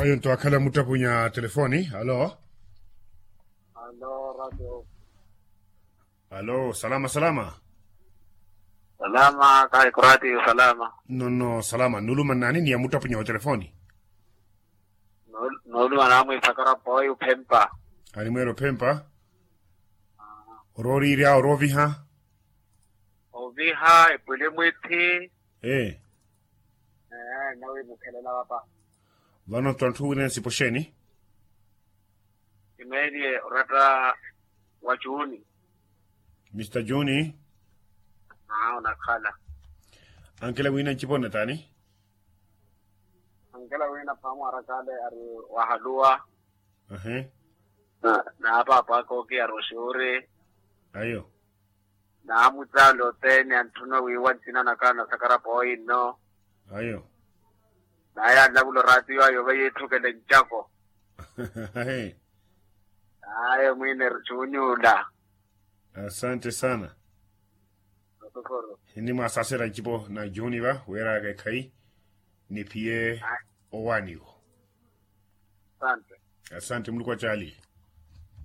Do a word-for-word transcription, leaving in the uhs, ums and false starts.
Ayo nto akhala muttapunya telefoni. Alo. Alo radio. Alo salama salama. Salama kahiku radio salama. Nono salama nuluma nnani ni ya muttapunya wa telefoni. Nuluma namwi sakara poi uphempa. Animweera ophempa. Orooriirya orooviha. Oviha epwili mwithi. Ee. Ee nawi mukhelela vapa. Vano ntto anthu wina nsipo xeeni? Kimeeliye oratta wa juni. Mista juni. Aa onakhala. Ankela wina ncipo nna taani? Ankela wina phamu arakale ari wahaluwa. Ahe. Na paapa aka okiyari oxuuri. Ayo. Naamutsaala othene antthuna wiiwa nthina nakhala nasakara pooyi nno. Ayo. Naye anlavula oraatiyo ayo vayiitthukele ncako. Ayo mwiine eri juuni ula. Asante sana. Nimwasaasera ncipo na juuni va weeraka ekhayi niphiye owaaniwo. Asante. Asante muluku acaaliye.